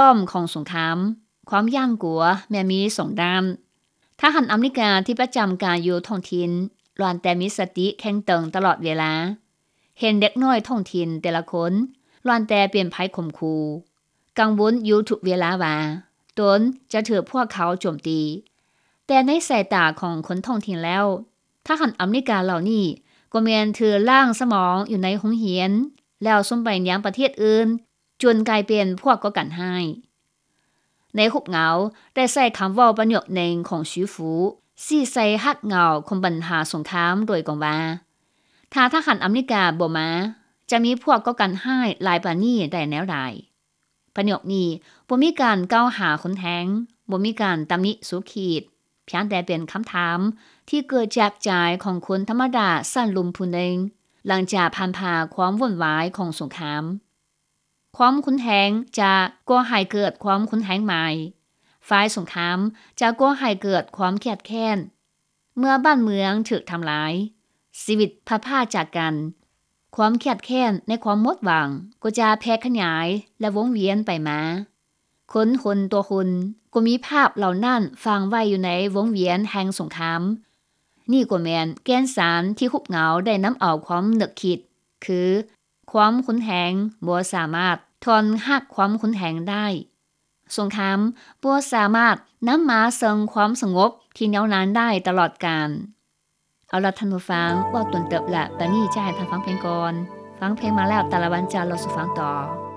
ອ້ອມຂອງສົງຄາມ, ຄວາມຢ້ານກົວແມ່ນມີສອງດ້ານ. ທະຫານອາເມລິກາທີ່ປະຈຳການຢູ່ທ້ອງຖິ່ນ ລ້ວນແຕ່ມີສະຕິເຄັ່ງຕຶງຕະຫຼອດເວລາ. ເຫັນເດັກນ້ອຍທ້ອງຖິ່ນແຕ່ລະຄົນ ລ້ວນແຕ່ເປັນໄພຂົ່ມຂູ່, ກັງວົນຢູ່ທຸກເວລາວ່າ ຕົນຈະຖືກພວກເຂົາໂຈມຕີ. ແຕ່ໃນສາຍຕາຂອງຄົນທ້ອງຖິ່ນແລ້ວ, ທະຫານອາເມລິກາເຫຼົ່ານີ້ ກໍແມ່ນຖືລ້າງສະໝອງຢູ່ໃນໂຮງຮຽນ ແລ້ວສົ່ງໄປຍັງປະເທດອື່ນ ຈົນກາຍເປັນພວກກໍ່ການຮ້າຍ. ໃນຮູບເງົາໄດ້ໃຊ້ຄຳເວົ້າປະໂຫຍກໜຶ່ງຂອງຊີຟູ ຊີ້ໃສ່ຮາກເຫງົາຂອງບັນຫາສົງຄາມໂດຍກວ້າງວ່າ ຖ້າທະຫານອາເມລິກາບໍ່ມາ, ຈະມີພວກກໍ່ການຮ້າຍຫຼາຍປານນີ້ໄດ້ແນວໃດ? ປະໂຫຍກນີ້ບໍ່ມີການກ່າວຫາຮຸນແຮງ, ບໍ່ມີການຕຳໜິສູຂີດ, ພຽງແຕ່ເປັນຄຳຖາມທີ່ເກີດຈາກໃຈຂອງຄົນທຳມະດາຊັ້ນລຸ່ມຜູ້ໜຶ່ງ ຫຼັງຈາກຜ່ານຜ່າຄວາມວຸ່ນວາຍຂອງສົງຄາມ. ຄວາມຮຸນແຮງຈະກໍ່ໃຫ້ເກີດຄວາມຮຸນແຮງໃໝ່, ຝ່າຍສົງຄາມຈະກໍ່ໃຫ້ເກີດຄວາມຄຽດແຄ້ນ. ເມື່ອບ້ານເມືອງຖືກທຳລາຍ, ຊີວິດພັດພາກຈາກກັນ, ຄວາມຄຽດແຄ້ນໃນຄວາມໝົດຫວັງກໍຈະແຜ່ຂະຫຍາຍ ແລະ ວົງວຽນໄປມາ. ຄົນຄົນຕໍ່ຄົນກໍມີພາບເຫຼົ່ານັ້ນຝັງໄວ້ຢູ່ໃນວົງວຽນແຫ່ງສົງຄາມ. ນີ້ກໍແມ່ນແກ່ນສານທີ່ຮູບເງົາໄດ້ນຳເອົາຄວາມນຶກຄິດ ຄື ຄວາມຮຸນແຮງບໍ່ສາມາດຖອນຮາກຄວາມຮຸນແຮງໄດ້. ສົງຄາມບໍ່ສາມາດນຳມາເຊິ່ງຄວາມສະຫງົບທີ່ຍາວນານໄດ້ຕະຫຼອດການ. ເອົາລະທ່ານຜູ້ຟັງ, ເວົ້າດົນເຕີບລະ, ບາດນີ້ຈະໃຫ້ທ່ານຟັງເພງກ່ອນ. ຟັງເພງມາແລ້ວ, ຕາລະວັນຈະເລົ່າສູ່ຟັງຕໍ່.